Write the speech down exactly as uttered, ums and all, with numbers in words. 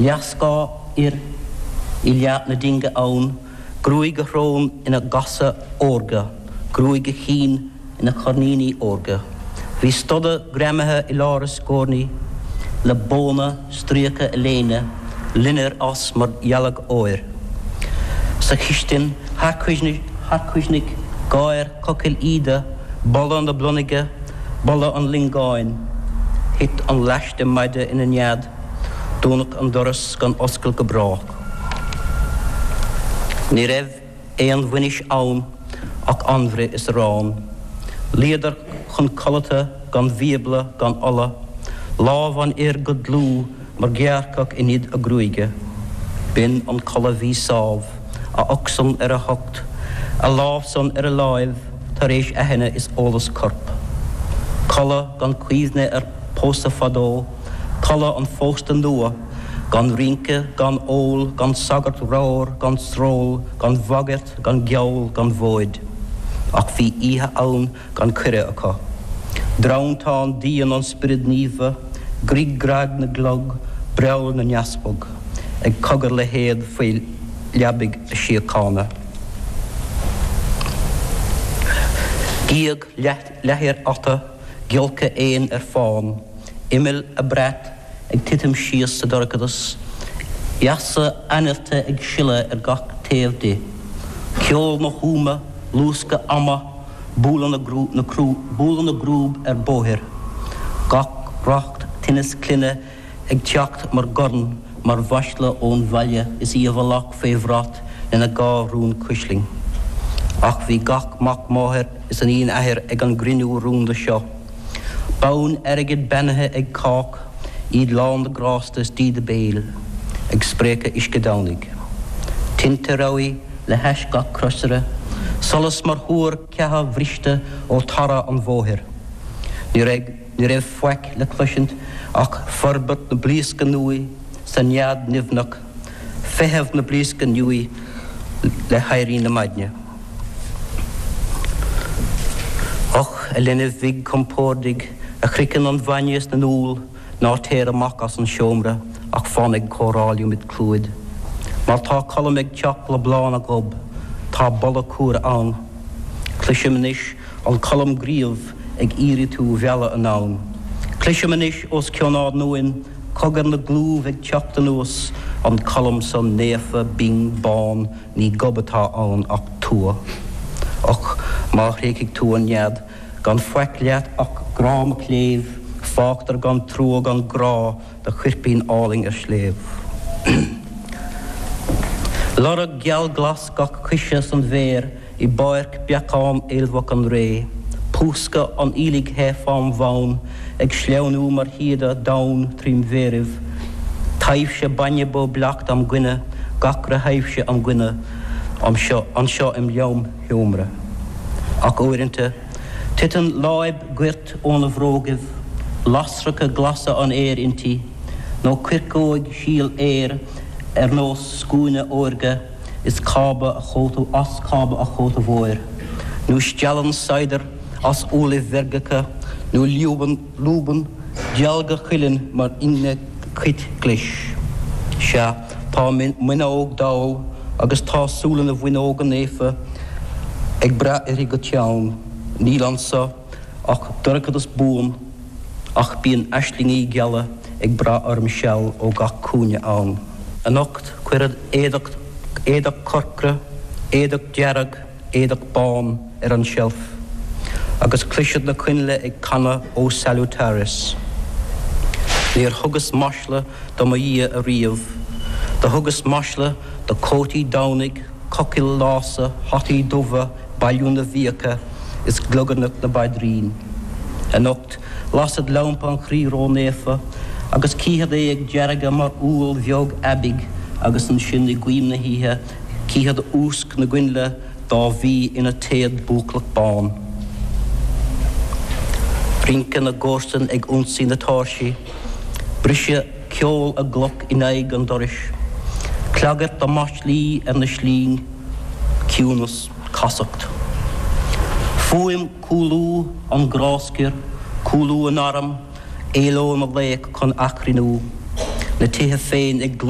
Leathscáth fhir i leath na dinge ann, gruaig a shrón ina gasa órga, gruaig a chinn ina coirníní órga. Bhí stoda greamaithe i lár a scornaí le bóna stríoca a léine, loinnir as mar dhealg óir. Sa chistin, tharchuimhnigh gáir cochaill Íde, boladh na blonnaige, boladh an lingeáin. Thit an laiste maide ina nead, dúnadh an doras gan oscailt go brách. Ní raibh aon bhainis ann ach anbhruith is arán. Luíodar chun codlata gan bhíobla gan ola, lámh an fhir go dlúth mar ghearrcach in id a gruaige. B'in an codladh bhí sámh, a ucht-san ar a hucht, a lámh-san ar a láimh tar éis aithne is eolas coirp. Codladh gan cuimhne ar pósadh fadó, codladh an phósta nua, gan rince, gan ól, gan sagart ramhar, gan sról, gan bhagairt, gan gheall, gan mhóid. Ach bhí oíche ann gan cuireadh acu. Drantán dian an Spioraid Naofa, grig grag na gclog, breall na n-easpag, ag cogar le héad faoi leabaidh na síochána. Gíog leathair ata, giolcadh éin ar fán, imill a brait ag titim síos sa dorchadas, easa ainnirte ag sileadh ar gach taobh di. Ceol na húma, luascadh ama, bualadh na bualadh na gcrúb ar bóithre. Gach racht tinneas clainne ag teacht mar dhorn, mar mhasla ón bhaile is í i bhfolach fé bhrat lena dhá rún cuislinn. Ach bhí gach mac máthar is iníon athar ag an gcruinniú rúnda seo. Bonn airgid beannaithe ag cách, iad lán de ghrásta is díde béil, ag spréachadh uisce Domhnaigh. Tinte rabhaidh le hais gach crosaire, solas mar thuar ceatha bhriste ó tarra an bhóthair. Ní raibh, ní raibh faic le cloisint ach forbairt na blaosca nuaí sa nead nimhneach, feitheamh na blaosca nuaí le héirí na maidne. Och, a linbh bhig chompordaigh, a shroicheann an bhainne sna n-úll, ná téir amach as an seomra ach fan ag comhrá liom id chlúid. Mar tá Colm ag teacht le bláth na ngob, tá boladh cumhra ann. Cloisim anois an Colm gríobh ag iarraidh tú mhealladh anonn. Cloisim anois os cionn ár n-uain cogar na gclúmh ag teacht anuas, an Colm san naofa binn bán, ní gob atá ann ach tua. Och, má thréigfidh tú an nead, gan faic leat ach grá mo chléibh, fágtar gan trua gan grá do choirpín álainn ar sléibh. Lorg geal glas gach coise san bhféar i bpáirc beacán aolmhach an ré, púscadh an aoiligh the fám bhonn ag sleamhnú mar shíoda donn trím mhéaraibh, taibhse bainne bó bleacht am gcoinne, gach re thaibhse am gcoinne anseo, anseo im lom-sheomra. Ach uaireanta, titeann láib goirt óna bhrógaibh, lasracha glasa an fhéir inti, nó coirceog síol fhéir ar nós scuaine órga is cába a chóta as cába a chóta mhóir, nó steallann saighdear as uallaibh mheirgeacha, nó lúbann, lúbann dealga cuilinn mar ingne cait ghlais. Sea, tá m'fhuinneog dall agus tá súile na bhfuinneoga naofa ag brath uirthi go teann. Níl anso ach dorchadas buan, ach bíonn aislingí geala ag brath orm seal ó gach cúinne ann. Anocht cuireadh éadach, éadach corcra, éadach dearg, éadach bán ar an tseilf, agus cloisfead na coinnle ag canadh O Salutaris. Níor thugas masla do mo Dhia ariamh. Do thugas masla do chótaí Domhnaigh, cochaill lása, hataí dubha, bailiú na bhfiacha is gliogarnach na bpaidrín. Anocht, lasfad lampa an Chroí Ró-Naofa agus cífead é ag deargadh mar úll bheag aibidh agus ansin i gcoim na hoíche cífead úsc na gcoinnle dá bhí ina téad buacach bán. Rince na gcomharsan ag ionsaí na tairsí, briseadh ceol a gcloch in aghaidh an dorais, clagairt a maslaí ar na slínn, ciúnas, casacht. Fuaim cúlú an ghráscair, cúlú a n-arm, éaló na laoch chun achrainniú. Na tithe féin ag gluaiseacht